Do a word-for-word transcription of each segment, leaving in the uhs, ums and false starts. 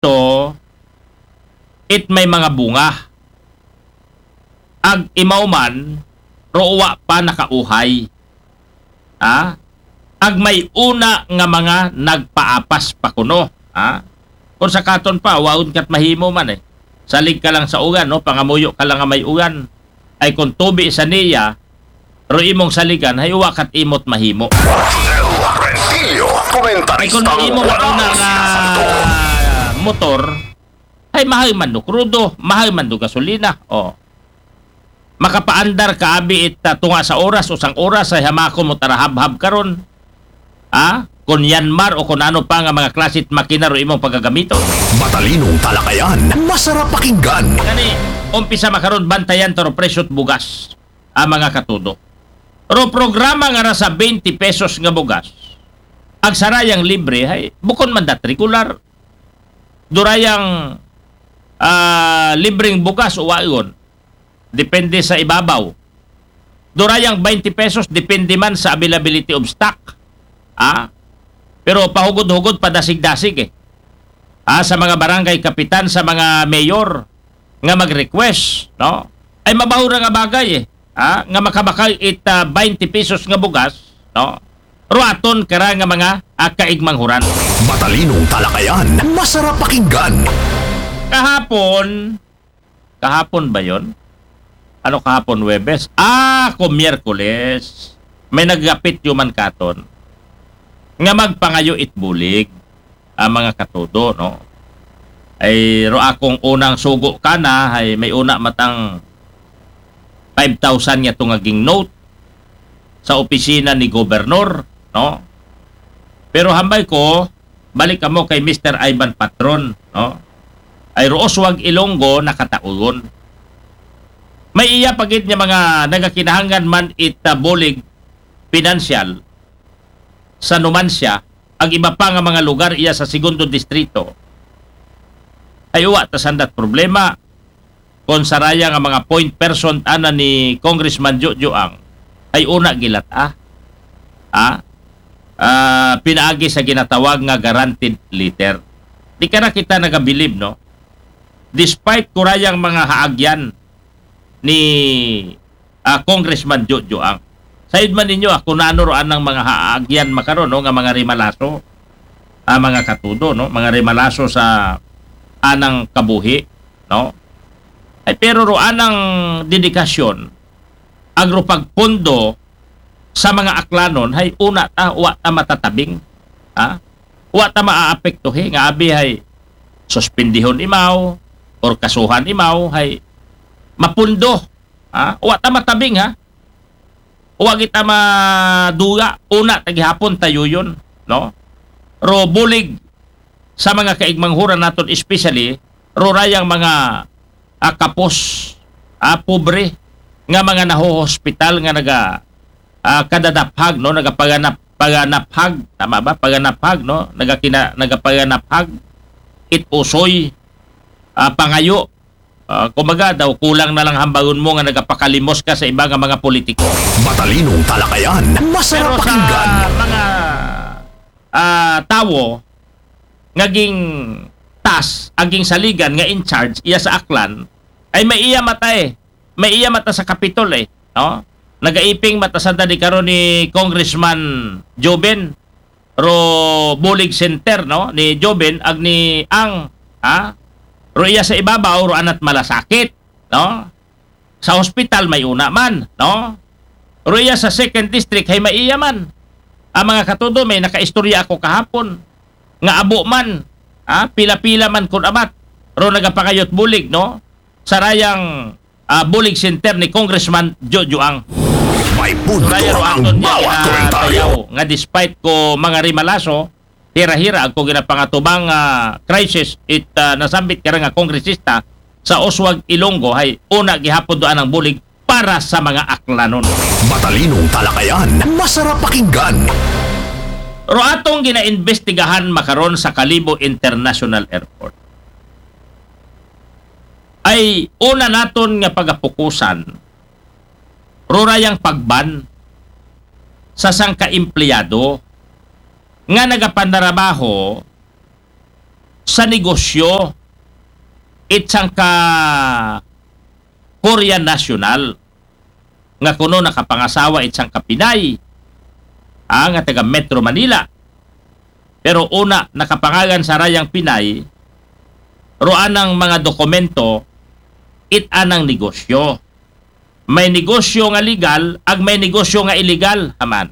to, it may mga bunga. Ag imaw man, ro wa pa nakauhay. Ha? Ag may una nga mga nagpaapas pa kuno. Ha? Kung sa katon pa, waon kat mahimo man eh. Salig ka lang sa ugan, no? Pangamuyo ka lang nga may ugan. Ay kung tubi sa niya, ro imong saligan, hay wa kat imot mahimo. Ay kung imo mauna nga motor, hay mahal man do krudo, mahal man do gasolina. Oh. Makapaandar ka abi it, ah, tunga sa oras, usang oras, ay hamakon mo tara habhab karon. Ah? Kung Yanmar o kung ano pa nga mga klasit makina ro imong pagagamiton. Matalinong talakayan, masarap pakinggan. Kani, umpisa makaron bantayan to ro presyo't bugas. Ah, mga katudo. Ro programa nga ra sa twenty pesos nga bugas. Ag sarayang libre, hay, bukon man dat regular. Durayang, ah, libreng bugas o waon. Depende sa ibabaw. Durayang twenty pesos, depende man sa availability of stock. Ah? Pero pahugod-hugod, padasig-dasig eh. Ah, sa mga barangay kapitan, sa mga mayor nga mag-request, no? Ay mabaho ra nga bagay eh. Ah, nga makabakal it, ah, twenty pesos nga bugas, no? Ruaton kara nga mga, ah, kaigmanghuran. Matalinong talakayan, masarap pakinggan. Kahapon, kahapon ba yon? Ano kahapon, Webes? Ah, ko Miyerkules. May nagapit yuman katon nga magpangayo it bulig, ah, mga katudo, no? Ay, ro akong unang sugo kana, ay may una matang five thousand nga tungaging note sa opisina ni gobernador, no? Pero hambal ko, balik kamo kay Mister Ivan Patron, no? Ay ro Oswald Ilonggo nakataugon. May iya pa gid nga mga nagakinahanglan man it, ah, bulig pinansyal sa Numancia, ag iba pa nga mga lugar iya sa Segundo Distrito. Ay uwa ta sandat problema. Kon saraya nga mga point person ana ni Congressman Jojo Ang ay una gilat-a. Ah? Ah, pinaagi sa ginatawag nga guaranteed letter. Di ka na kita nagabilib, no? Despite kurayang mga haagyan ni, ah, Congressman Jojo Ang. Sayod man ninyo, ah, kung ano ro anang mga haagyan makaron, no, nga mga rimalaso, ah, mga katudo, no, mga rimalaso sa anang kabuhi, no? Ay, pero ro anang dedikasyon, agro pagpondo sa mga aklanon, hay una ta, wa ta matatabing, ha? Wa ta maaapektuhi, nga abi hay suspendihon imaw, or kasuhan imaw, hay mapundo, ha? Wa ta matabing, ha? Wa kita maduga, una ta gihapon tayo yun, no? Ro bulig sa mga kaigmanghuran naton, especially ro rayang mga, ah, kapos, ah, pobre nga mga nahohospital nga naga, ah, kadadaphag, no, nagapaganap paganaphag, tama ba? Paganaphag, no, nagakina nagapaganaphag it usoy, ah, pangayo. Ah, kumbaga daw, kulang na lang hambagon mo nga nagapakalimos ka sa iba nga mga politiko. Matalinong talakayan, masarap Pero sa pakinggan. Mga, ah, tawo nga ging tas, aging saligan nga in charge iya sa Aklan, ay may iya mata eh. May iya mata sa Kapitol eh, no? Nagaiping mata sa dadi karon ni Congressman Joven, ro Bulig Center, no? Ni Joven ag ni Ang, ha? Ro iya sa ibabaw, ro anat malasakit, no? Sa hospital may una man, no? Ro iya sa second district hay may iya man. Ang mga katudo, may nakaistorya ako kahapon nga abo man, ha? Pila-pila man kun abat ro nagapangayot bulig, no? Sarayang, ah, bulig center ni Congressman Jojo Ang. May punto Kaya ro ang aton niya bawat komentaryo. Nga despite ko mga rimalaso, hira-hira ako ginapangatubang, ah, crisis it, ah, nasambit ka nga kongresista sa Oswald Ilonggo hay una gihapon doon ang bulig para sa mga aklanon. Matalinong talakayan, masarap pakinggan. Ro atong ginaimbestigahan makaron sa Kalibo International Airport. Ay una naton nga pagapukusan, rurayang pagban sa sangka empleyado nga nagapanarabaho sa negosyo it sangka Korean national nga kuno nakapangasawa it sangka Pinay, ah, nga taga Metro Manila. Pero una, nakapangalan sa rayang Pinay, ro anang mga dokumento, it anang negosyo. May negosyo nga legal, ag may negosyo nga illegal, haman.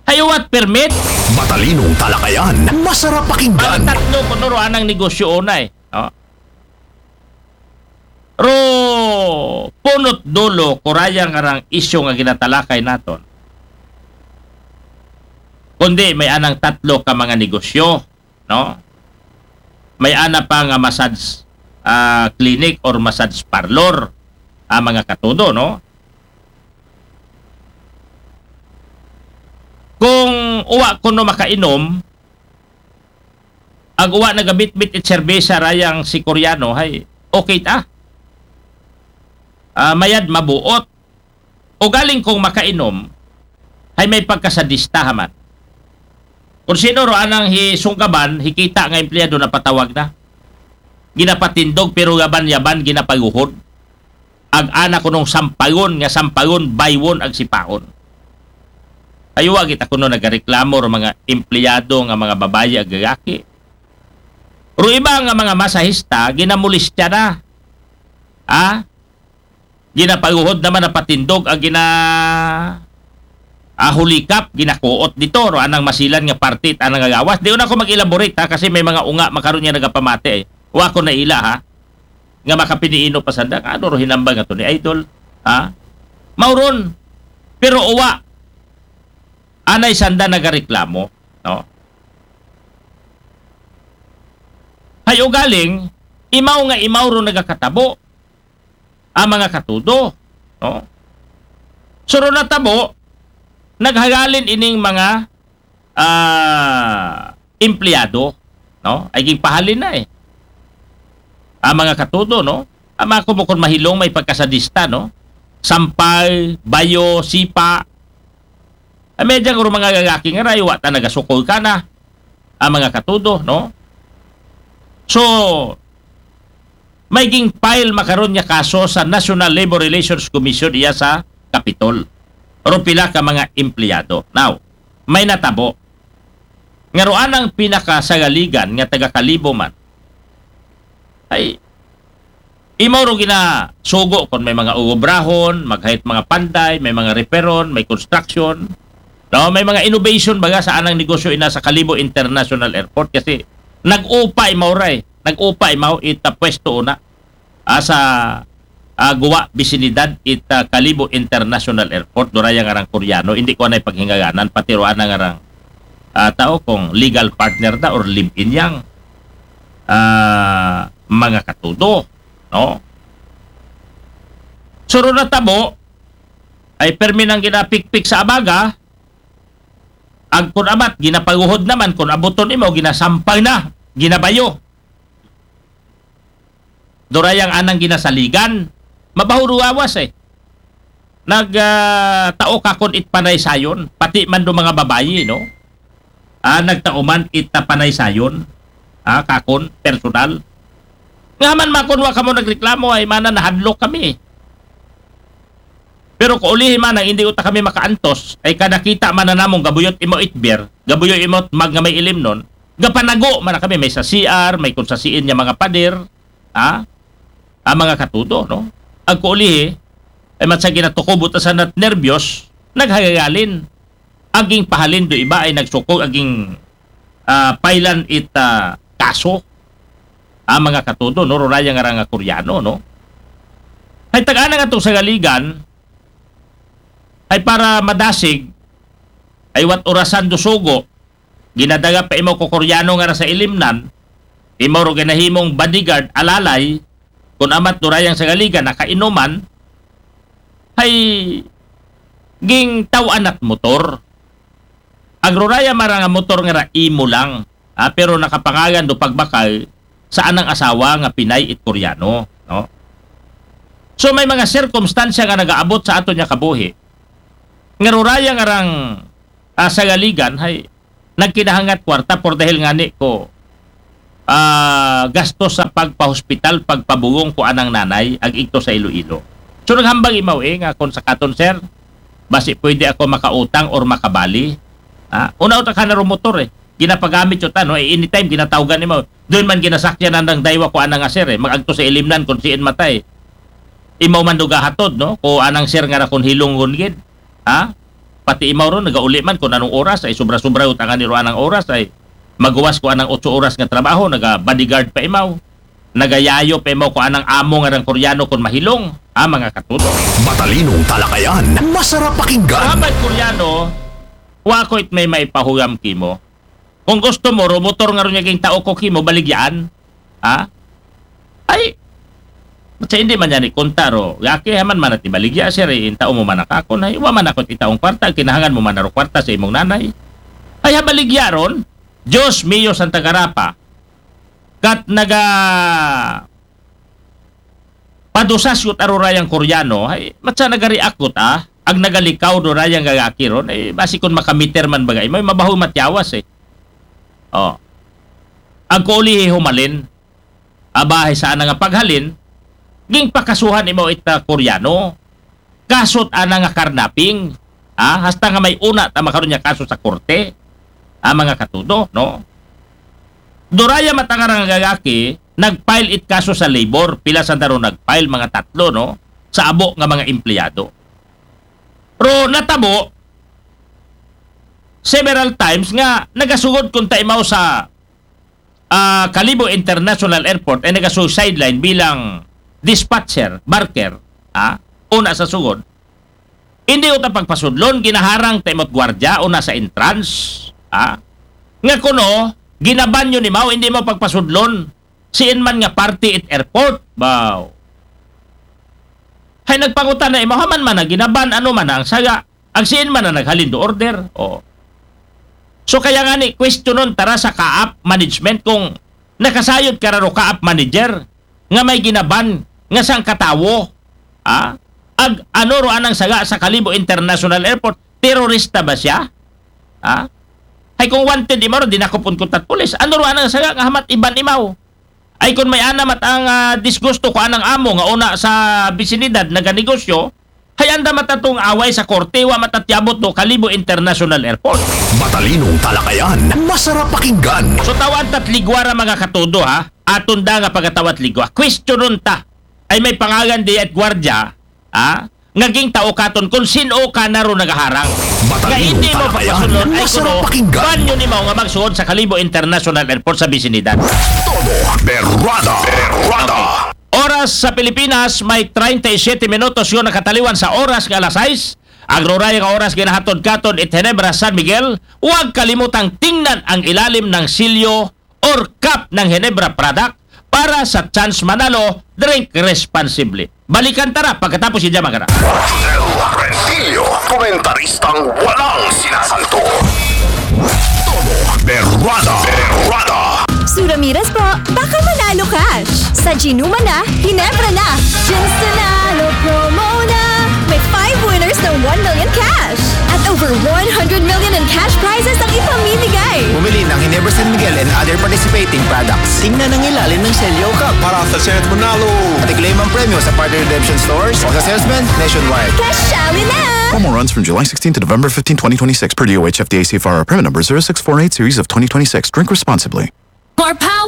Hayo, what permit? Matalinong talakayan, masarap Ang pakinggan. Tatlo kuno ro anang negosyo unay, no? Ro punot dulo, kuraya nga rang isyu nga ginatalakay naton. Kundi may anang tatlo ka mga negosyo, no? May ana pa nga massage, ah, clinic or massage parlor, ah, mga katudo, no? Kung uwa kuno makainom, ag uwa nagabitbit it serbesa rayang si Koreano, hay, okay ta. Ah, mayad mabuot. O galing kung makainom, hay may pagkasadista haman. Kung sino ro anang hisunggaban, hikita nga empleyado na patawag na. Ginapatindog, pero yaban-yaban, ginapaguhod. Ag ana kunong sampagon, nga sampagon, baywon, ag sipaon. Aywa kita kuno nagareklamo ro mga empleyado nga mga babayi ag lalaki. Ro iba nga mga masahista, ginamulistya na. Ha? Ginapaguhod naman na patindog, ag gina, ah, hulikap, ginakuot dito, ro anang masilan nga parte, anang agawas. Di una ko mag-elaborate, ha, kasi may mga unga makaron nga nagapamati, eh. Wa ko naila, ha, nga makapiniino pa sanda. Ano ro hinambal nga to ni Idol? Ha? Mauron. Pero uwa, anay sanda nagareklamo, no? Hay ugaling, imaw nga imaw ro nagakatabo, ang mga katudo, no? So ro natabo, naghagalin ining mga, ah, empleyado, no? Ay ginpahalin na, eh. Ang mga katudo, no? Ang mga kumukon mahilong may pagkasadista, no? Sampay, bayo, sipa. Ay, may dyan ro mga lalaki nga rayo, wa ta nagasukol ka na. Ang mga katudo, no? So, may ging-file makaron nga kaso sa National Labor Relations Commission iya sa Capitol. Ro pila ka mga empleyado. Now, may natabo. Nga ro anang pinakasagaligan nga taga Kalibo man. Ay, imaw ro ginasugo kung may mga uobrahon, maghait mga panday, may mga repair-on, may construction. No, may mga innovation baga sa anang negosyo ina sa Kalibo International Airport kasi nag-upa imaw ray. Nag-upa imaw ita pwesto una. Asa, ah, guwa bisinidad ita Kalibo International Airport, duraya nga rang Koreano, hindi ko anay paghingaganan, pati ro anang rang, ah, tao kung legal partner da or live-in yang, ah, mga katudo, no? So ro natabo, ay permi nang ginapikpik sa abaga, ag kun amat, ginapaguhod naman, kun abuton imo, ginasampay na, ginabayo. Durayang anang ginasaligan, mabaho ro gawas, eh. Nag, ah, tao kakon it panaysayon, pati man do mga babayi, no? Ah, nagtao man it, ah, panaysayon, ah, kakon, personal. Nga man makon wa kamo nagreklamo, ay mana nahadlok kami. Pero kaulihi man ang hindi uta kami makaantos, ay kada kita man na namong gabuyot imo itbir, gabuyot imo mag nga may ilimnon, gapanago man na kami, may sa C R, may kung sa siin niya mga pader, ha? Ang mga katudo, no? Ag kaulihi, ay matsa ginatukob uta sa nat nerbyos, naghagagalin. Aging pahalin do iba ay nagsukog, aging, ah, pailan it, ah, kaso. Ang mga katudo, no? Ruraya nga rang Koreano, no? Ay taga-ana nga tong sagaligan, ay para madasig, ay wat orasan do sugo, ginadaga pa imo ko Koreano nga ra sa ilimnan, imo ro ginahimong bodyguard, alalay, kun amat durayang sagaligan, nakainuman, hay ging taw-an at motor. Ang ruraya mara nga motor nga ra imo lang, ah, pero nakapangalan do pagbakal sa anang asawa nga Pinay it Koreano, no? So may mga sirkumstansya nga nagaabot sa aton nga kabuhi nga ruraya nga rang, ah, sagaligan, hay nagkinahangat kwarta por dahil ngani ko ah, gastos sa pagpahospital, pagpabugong ko anang nanay, ag igto sa Iloilo. So, naghambag imaw, eh, nga kung sa katon, sir, basi pwede ako makautang or makabali. Ha? Una, uta ka na ro motor, eh. Ginapagamit yun, ano, eh, anytime, ginatawgan imaw. Doon man ginasakyan ang daywa ko anang nga, sir, eh. Mag-agto sa ilimnan kung siin matay. Imaw man do gahatod, no? Ko anang, sir, nga na kung hilong gid. Ha? Pati imaw ron, nagauli man kung anong oras, ay sobra-sobra utangan ni ro anang oras, ay maguwas ko anang otso oras nga trabaho, naga-bodyguard pa imaw. Nagayayo pa imaw ko anang amo nga nang Koreano kung mahilong, ha, mga katudo. Matalinong talakayan, masarap pakinggan. Mga Koreano, wa ko it may maipahuyam kimo. Kung gusto mo, ro motor nga ron niya ging tao ko kimo, baligyaan. Ha? Ay, sa hindi man yan ikunta ro. Gaki haman man at ibaligya, sir, eh, intao mo man nakakon. Ay, wa man ako itaong kwarta, kinahangan mo man ro kwarta sa imong nanay. Ay, habaligya ron, Diyos mio Santa Garapa. Kat naga padusas yut arurayang Koreano, ay, matsa nagariakot, ah, ag nagalikaw do rayang gagaki ron, eh, basi kun makamiter man baga, may mabaho matyawas, eh. Oh. Ang kuulihi humalin, abahe sa ana nga paghalin, ging pakasuhan imaw ita Koreano. Kasot ana nga karnaping, ah, hasta nga may una ta makaron niya kaso sa korte, ah, mga katudo, no? Doraya matangara nga gagaki, nag-file it kaso sa labor, pila sa daro nag-file, mga tatlo, no? Sa abo nga mga empleyado. Pero natabo, several times nga nagasugod kung taimaw sa ah, Kalibo International Airport ay nagasusideline bilang dispatcher, barker, ah, una sa sugod. Hindi uta pagpasudlon, ginaharang ta imot gwardya, una sa entrance, ah. Nga kuno, ginaban yun imaw, hindi mo pagpasudlon. Siin man nga party it airport, baw. Hay nagpangutan na imaw, haman man na ginaban, ano man na ang saga, ang siin man na naghalin do order, oh. So kaya nga ni, questionon tara sa kaap management kung nakasayod ka raro kaap manager nga may ginaban nga sang katawo, ha? Ag ano ro anang saga sa Kalibo International Airport, terorista ba siya? Ha? Hay kung wanted imaw ro, dinakupon ko tat pulis. Ano ro anang saga nga hamat iban imaw? Ay kun may ana mat ang ah, disgusto ko anang amo nga una sa bisinidad naganegosyo, hay anda matatong away sa korte, wa matatyabot do Kalibo International Airport. Matalinong talakayan, masarap pakinggan. So tawad tat ligwa ra mga katudo ha, aton da nga pagatawat ligwa. Questionon ta, ay may pangagan di at gwardya, ha? Nga ging tao katon kung sino ka na ro nagaharang. Nga Matalinong hindi mo talakayan, pagpasunod ay masarap kuno, pakinggan. Banyo ni mo nga magsuod sa Kalibo International Airport sa bisinidad. Todo Berrada. Berrada. Oras sa Pilipinas, may treinta y siete minutos yun nakataliwan sa oras nga alas sais. Ang ruray nga oras ginahatod katon it Ginebra San Miguel, huwag kalimutang tingnan ang ilalim ng silyo or cup ng Ginebra product para sa chance manalo, drink responsibly. Balikan tara pagkatapos si Jamagara. Rentillo, komentaristang walang sinasanto. Todo Berrada. Berrada. Sue Ramirez po, baka manalo cash. Sa Ginuma na, Ginebra na. Gin's Nanalo promo na. May five winners ng one million cash. At over one hundred million in cash prizes ang ipamimigay. Bumili ng Ginebra San Miguel and other participating products. Tingnan ang ilalim ng selyo cup para sa chance manalo. At i-claim ang premyo sa partner redemption stores o sa salesman nationwide. Kasali na! Promo runs from July sixteenth to November fifteenth, twenty twenty-six, per D O H F D A C F R, permit number zero six four eight series of twenty twenty-six. Drink responsibly. More power